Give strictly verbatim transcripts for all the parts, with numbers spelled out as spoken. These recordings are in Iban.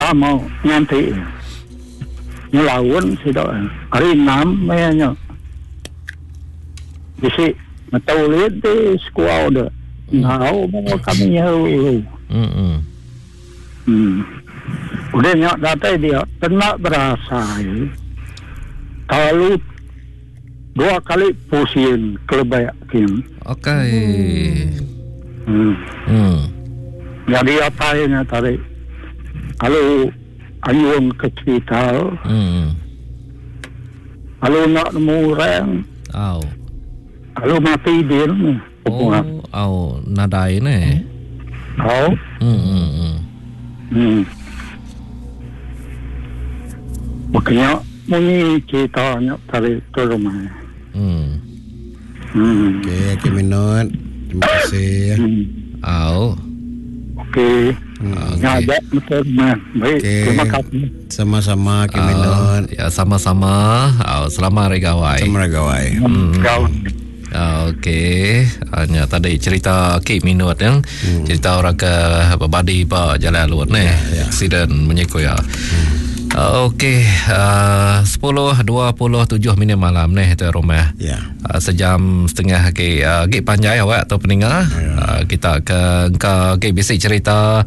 Sama nganti. Ngelawan sida. Hari enam mayanya. Bisi ngetau di sekuau dah. Ngau mau kami nyahu. Hmm. Hmm. Udah nyak datai dia kena berasa. Kalau dua kali pusing kelebek kin. Okey. Hmm. Hmm. Jadi apa yang tadi? Kalau ayun ke cerita. Hmm. Kalau nak nemu orang. Au. Kalau mati dia ni. Oh, au nadai ni. Au. Hmm hmm hmm. Hmm. Makanya munyi cerita nak tarik ke rumah. Hmm. Hmm. Okey, okey minut. Terima kasih. Hmm. Au. Okey. Okey. Ya, baik, betul. Baik, okay. Terima kasih. Sama-sama Ki Minut. Ya, sama-sama. Au, selamat Hari Gawai. Selamat Hari Gawai. Hmm. Gawai. Okey, hanya tadi cerita Ki Minut yang hmm. cerita orang ke berbadi ba jalan alur ni, ya, ya. Aksiden menyikut ya. Hmm. Okey, uh, sepuluh dua puluh tujuh minit malam ni tu rumah. Ya. Uh, sejam setengah lagi uh, lagi panjang awak atau peninga. Ya. Uh, kita ke ke ke bisik cerita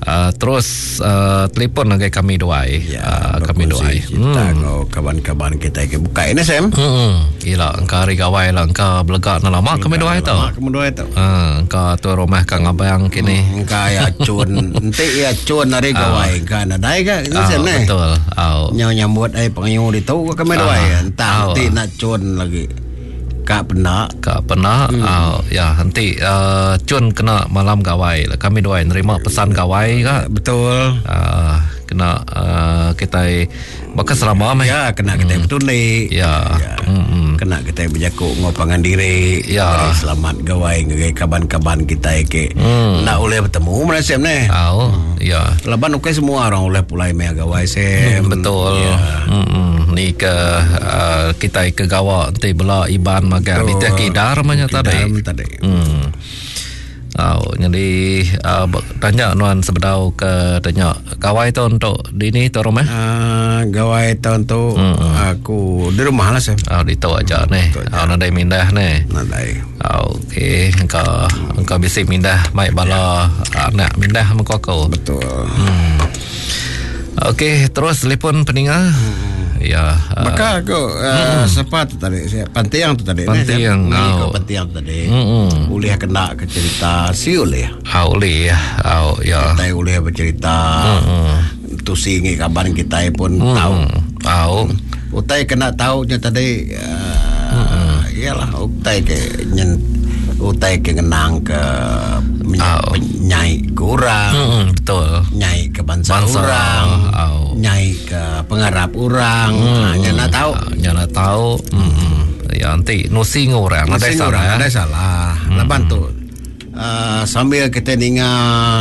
uh, terus uh, telefon lagi kami duai. Ya, uh, kami duai. Cerita hmm. kawan-kawan kita ke buka ini Sam. Hmm. Gila, engkau hari gawai lah engkau belegak nak lama kami duai tu. Lama kami duai tu. Ha, engkau tu rumah kang abang kini. Hmm, engkau ya cun, enti ya cun hari gawai engkau nadai ke Sam ni. Betul. Au. Nyau nyambut ai pengayu ditu ke kami duai. Entah nanti nak cun lagi. Kak pernah. Kak pernah. Hmm. Oh, ya, nanti uh, cun kena malam gawai. Kami duai nerima pesan gawai ke. Betul. Uh, kena uh, kita bakal selama meh. Ya, kena kita hmm. betulik. Ya. Ya. Hmm. Kena kita berjakuk ngopangan diri. Ya. Beri selamat gawai ngagai kaban-kaban kita ke. Hmm. Nak boleh bertemu mana sem ni. Oh, hmm. ya. Laban okey semua orang boleh pulai meh gawai sem. Hmm, betul. Ya. Hmm. Ni ke uh, kita ke gawa nanti bela iban magang di teh kidar banyak tadi. Tadi. Hmm. Oh, jadi uh, tanya nuan sebedau ke tanya gawai tu untuk dini tu rumah? Uh, gawai tahun tu hmm. aku di rumah lah saya. Oh, di tu aja ni. Oh, nadai mindah ni. Nadai. Oh, okey, engkau engkau bisi mindah mai bala ya. Anak mindah mengko aku. Betul. Hmm. Okey, terus telefon peninga. Hmm. Ya. Maka aku uh, hmm. siapa tu tadi? Pantiang tu tadi. Pantiang. Ni oh. pantiang tadi. Hmm. Boleh kena ke cerita si boleh. Ah boleh. Ah ya. Kita boleh bercerita. Hmm. Tu singi kabar kita pun hmm. tahu. Tahu. Utai kena tahu nya tadi. Uh, hmm. Iyalah utai ke nyen utai ke ngenang ke oh. nyai kurang. Hmm, betul. Nyai ke bangsa, bangsa orang. Oh. Nyai ke pengarap orang. Hmm. Nya nak tahu. Nya nak tahu. Hmm. Ya nanti nusi ngurang ada salah. Ada salah. Hmm. Laban tu uh, sambil kita ninga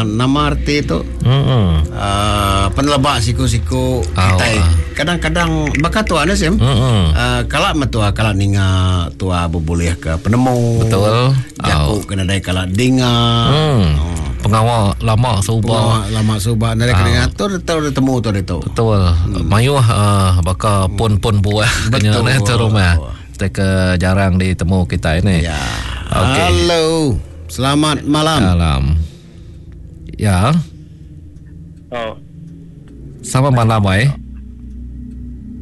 nama arti tu. Hmm. Uh, penelebak siku-siku kita oh. kadang-kadang bakat tua ada sim. Hmm. Uh, kalak metua kalak ninga tua berboleh ke penemu. Betul. Jaku oh. kena dai kalak dinga. Hmm. Oh. Pengawal lama subah. Pengawal lama subah nari kena tu tu temu tu itu. Betul. Hmm. Mayuh uh, baka pun-pun buah kena tu rumah. Kita ke jarang ditemu kita ini. Ya. Okey. Halo. Selamat malam. Malam. Ya. Oh. Selamat malam, wai.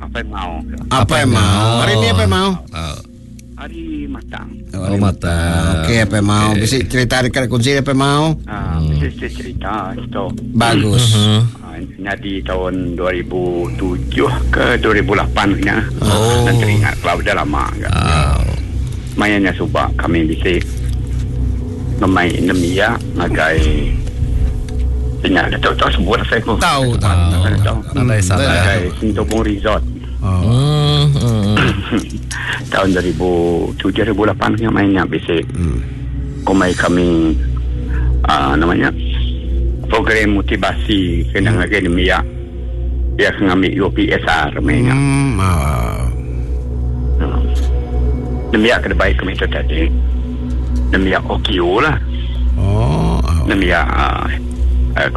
Apa yang mau? Apa yang mau? Hari ini apa yang mau? Uh. Hari matang. Oh, hari matang. Okey, apa yang mau? Okay. Bisa cerita dekat kunci apa yang mau? Ah, Hmm. bisa cerita itu. Bagus. Uh-huh. Ah, jadi tahun dua ribu tujuh ke dua ribu lapan kena. Oh. Dan teringat kalau dah lama kan. Oh. Mainnya subak kami bisa memain nemia ngagai ingat dah tahu tahu sebut saya pun. Tahu tahu. Tahu. Nadai salah. Ngagai Sintobong Resort. Oh. Hmm. hmm. Tahun dua ribu tujuh dua ribu lapan yang mainnya bisa. Hmm. Komai kami uh, namanya program motivasi kena hmm. ngagai nemia. Dia kena ambil U P S R mainnya. Hmm. Oh. Hmm. Nemia kena baik kami tu tadi. Nemia O Q lah. Oh. Nemia uh,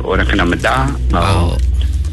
orang kena medah. Oh.